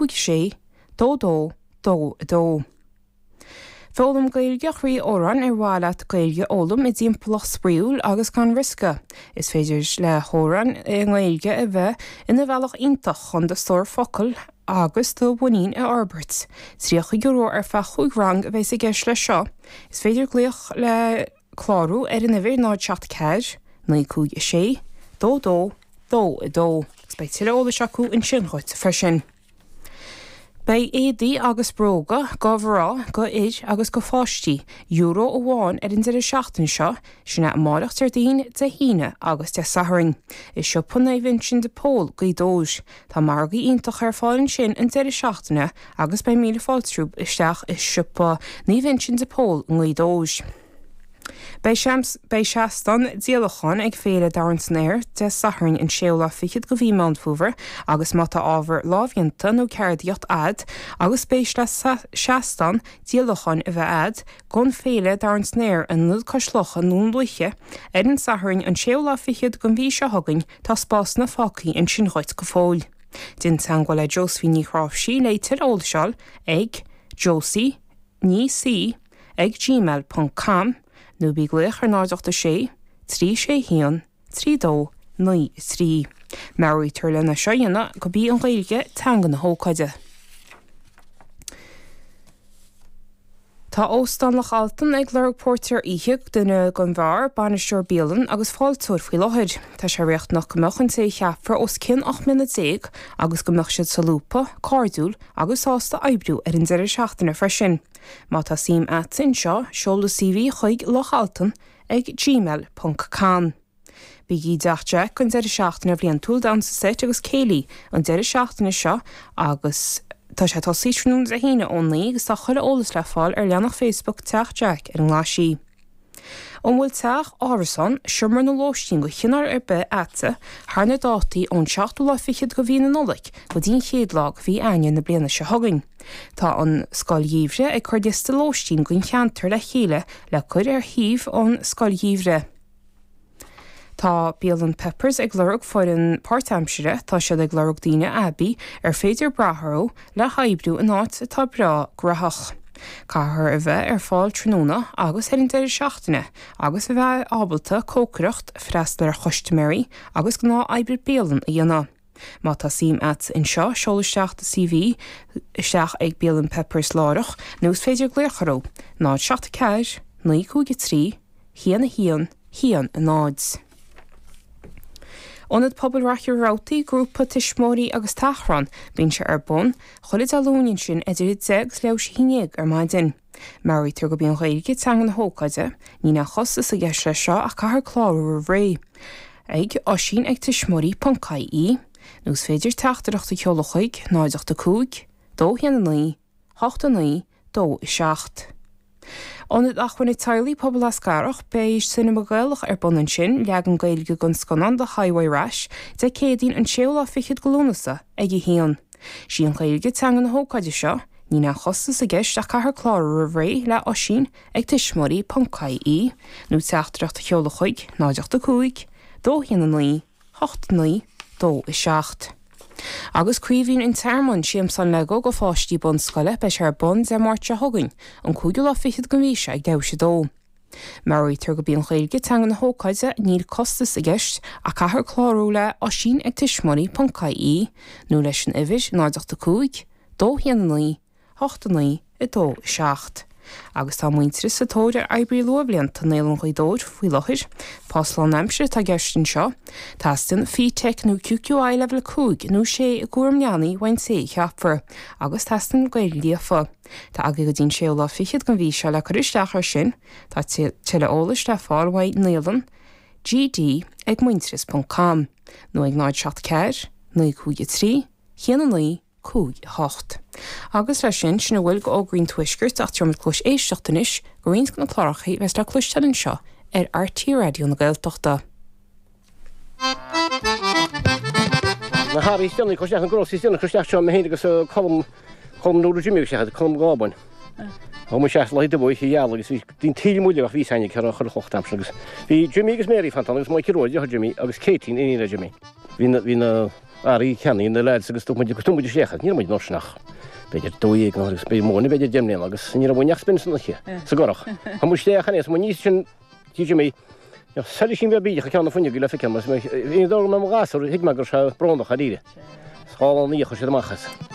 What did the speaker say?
6 2 2 2 2. Foghlaim Gaeilge Chroí Odhráin ar mhaith leat Gaeilge a fhoghlaim i dtimpeallacht spraíúil agus gan riosca. Is féidir le hamhráin i nGaeilge a bheith ina bhealach iontach chun do stór focal agus do mhuinín a fhorbairt. €30 ar feadh chúig rang a bheas i gceist leis seo. Is féidir glaoch le clárú ar an uimhir 0 7 4 9 5 6 2 2 2 2 agus beidh tuilleadh eolais acu ansin dhuit freisin. Beidh éadaí agus bróga go mhná, go fhir agus go pháistí, euro amháin ar an deireadh seachtaine seo, sin é amáireach Déardaoin, Dé hAoine agus Dé Sathairn. I siopa Naomh Uinseann de Pól, Gaoth Dobhair. Tá margaí iontach ar fáil ansin an deireadh seachtaine agus beidh míle fáilte romhaibh isteach i siopa Naomh Uinseann de Pól i nGaoth Dobhair. Beidh Beidh seastán díolacháin ag Féile Domhan san Aer Dé Sathairn an séú lá fichead go mhí Meán Fómhair agus má tá ábhar lámhdhéanta nó ceardaíocht a'd agus spéis le seastán díolacháin a bheith a'd gon Féile Domhan san Aer in Ionad Cois Locha i nDún Lúiche ar an Satharn an séú lá fichead gon mhí seo chugainn tá spásanna fágthaí ansin dhuit go fóill. Déan teangmháil le Josephine Ní Chráimhsí le tuilleadh eolais a fháil ag Josie Ní C ag gmail ponc com nó bí ag glaoch ar 0 8 6 3 6 1 3 2 9 3. Meabhraítear lena seo a dhéanamh go b'í an Ghaeilge teanga na hócáide. Tá Óstán Loch Altan ag lorg póirtéir oíche, duine don bheár, bainisteoir bialann agus fáilteoir faoi láthair. Tá sé riachtanach go mbeadh an té a cheapfar os cionn 18 mbliana agus go mbeadh siad solúbtha, cairdiúil agus sásta oibriú ar an deireadh seachtaine freisin. Má tá suim a'd anseo, seol do CV chuig lochaltan ag gmail ponc com. Bígí i dTeach Jack don deireadh seachtaine bhliantúil Damhsa Seit agus Céilí an deireadh seachtaine seo agus tá sé tosaí tráthnóna Dé hAoine ón 9 agus tá chuile eolas le fáil ar leathanach Facebook Teach Jack ar an nGlaisín. An bhfuil teach, árasán, seomra nó lóistín de chineál ar bith a'dsa thar na dátaí ón seachtú lá fichead de mhí na Nollag go dtí an chéad lá de mhí Eanáir na bliana seo chugainn? Tá an Scoil Gheimhridh ag cur liosta lóistín don cheantar le chéile le cur ar shuíomh an Scoil Gheimhridh. Tá Bialann Peppers ag lorg foireann páirtaimsire, tá siad ag lorg daoine aibí ar féidir brath orthu le hoibriú in áit atá breá graitheach. Caithfear a bheith ar fáil tráthnóna agus ar an deireadh seachtaine agus a bheith ábalta cócaireacht, freastal ar chustaiméirí agus gnáth oibre bialann a dhéanamh. Má tá suim a'd anseo, seol isteach do CV isteach ag Bialann Peppers láithreach nó is féidir glaoch orthu, 0 7 4 9 5 3 1 1 1 0. Ionad Pobail Mhachaire Rabhartaigh, Grúpa Tuismitheoirí agus Tachrán, bíonn sé ar bun chuile Dé Luain ansin idir 10 agus leathuair théis a haon déag ar maidin. Meabhraítear gurb í an Ghaeilge teanga na hócáide, níl aon chostas i gceist leis seo ach caithfear clárú roimh ré ag oisín ag tuismitheoirí ponc ie nó is féidir teachtaireacht a sheoladh chuig 0 8 5 2 1 9 8 9 2 7. Ionad Acmhainne Teaghlaigh Pobal Eascarrach, beidh Cinema Gaelach ar bun ansin, leagan Gaeilge den scannán The Highway Rash, Dé Céadaoin an séú lá fichead de Lúnasa ag a haon. Sí an Ghaeilge teanga na hócáide seo, níl aon chostas i gceist ach caithfear clárú roimh ré le Oisín ag tuismitheoirí ponc ie nó teachtaireacht a sheoladh chuig 0 8 5 2 1 9 8 9 2 7. Agus Craoibhín an Tearmainn, Siamsán Lego go pháistí bunscoile, beidh sé ar bun Dé Máirt seo chugainn, an cúigiú lá fichead den mhí seo ag leathuair théis a dó. Meabhraítear gurb í an Ghaeilge teanga na hócáide, níl costas i gceist ach caithfear clárú le Oisín ag tuismitheoirí ponc ie nó leis an uimhir 0 8 5 2 1 9 8 9 2 7. Agus tá Muintearas sa tóir ar oibrí luathbhlianta i Naíolann Ghaoth Dobhair faoi láthair. Post lánaimsire atá i gceist anseo. Teastaíonn FETAC nó QQI Leibhéal 5 nó 6 i gcúram leanaí uaidh an té a cheapfar, agus teastaíonn Gaeilge líofa. Tá agaibh go dtí an séú lá fichead den mhí seo le cur isteach air sin. Tá tuilleadh eolais le fáil uaidh naíolann GD ag muintearas ponc com nó ag 0 7 4 9 5 3 1 9 5 8. Agus leis sin, sin a bhfuil d'fhógraí an Tuaiscirt ach tabharfaimid cluas éisteachta anois go roinnt de na cláracha a bheas le cloisteáil anseo ar RTÉ Raidió na Gaeltachta. Na hearraí is déanaí cur isteach, na groceries is déanaí cur isteach seo, mé féin agus Colm, Colm Nuala Jimmy agus isteach, Colm Gábáin. Thug muid isteach Lá Dubh oíche gheal agus bhí daoine taoille muille ach bhí fhios againn cé raibh chuir chloch d'aimsir agus bhí Jimmy agus Mary fanta ann agus Mikey Rua, deartháir Jimmy agus Katie, iníon le Jimmy. Bhí na, bhí na. Earraí ceannaigh na lads agus thug muid thug muid isteach iad. Ní raibh muid an uair sin ach b'fhéidir 12 nó agus b'fhéidir mó b'fhéidir 10 mbliana agus ní raibh uainn ach spin san oíche sa gcurach. Chuaigh muid isteach ann is muid níos sin tí Jimmy Soilisín beag bídeach ag ceann na fuinneoige le feiceáil mar is mé, ní dóigh go mbeadh mo ghasúr, thuig mé go raibh sé brónach dáiríre. Is dhá lá ina dhiaidh chuir siad amach as.